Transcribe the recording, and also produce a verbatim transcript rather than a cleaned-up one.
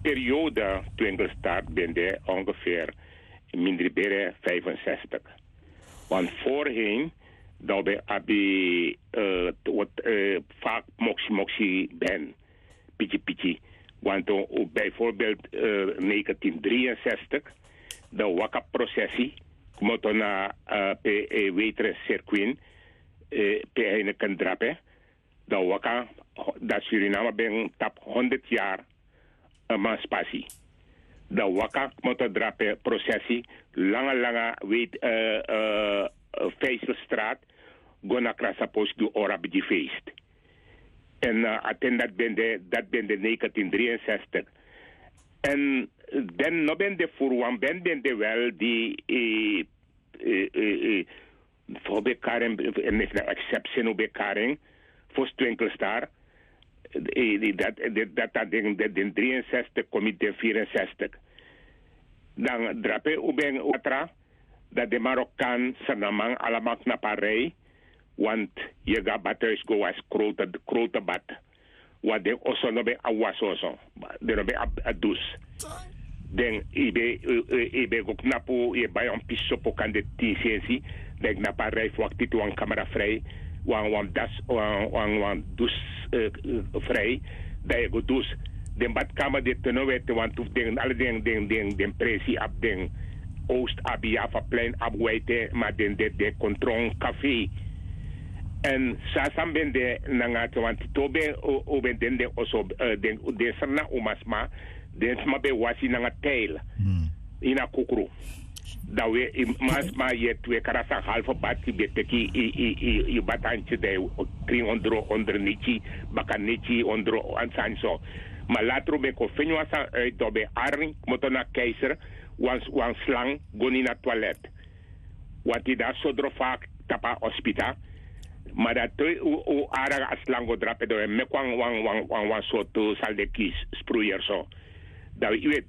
Periode twinkelstar ben de ongeveer mindri bere vijfenzestig. Want voorheen dan ben abi wat vaak moksi moksi ben piki piki. Want bijvoorbeeld negentien drieënzestig dan waka processie kmoto na pe wetre circuit pe heineken drape. Dan waka dat Suriname ben tap honderd jaar emancipatie. Dan waka kmoto drape processie langa langa weet vijzelstraat go na krasa post gi ora bigi feest. En aten dat ben de negentien drieënzestig. En den no ben de furu wan ben ben de wel di fo be karen en mesi na eksepsi no be karen fo stwinkelstar. Dat dat dat den den drieënzestig komi den vierenzestig. Dan drape u ben watra dat den marokan sernaman alamak na parij. Want yega bathuis go was grote grote bat. Wat den oso no ben a wasoso den no ben a dus. Den ibe ibe go knapu ye bai on piso po kan de tin sensi. Dan ik na parijs wakti tu wan kamera vrij wan wan das wan wan dus vrij. Dan ye go dus den badkamer de tenowe te wan tu den ala den den den den presi ab den oost abi ya fa plein ab waite ma den de de kontron café. En sasan ben de nanga te wan tito ben o ben den den oso den den serna umasma. Den sma ben wasi nanga teil ini a kukru. Dan we man sma yet we kara san halfe bati ben teki yu batantye dan yu krin ondro ondro niki baka niki ondro wan sani so. Ma latru ben kon feni wan sani uit dan ben arni kmoto na keiser wan slang go na ini a toilet. Wanti dan sodro fa tapu a ospita. Ma dan te u ara a slang go drape dan we meki wan wan wan wan sortu saldeki spruyer so. Dan we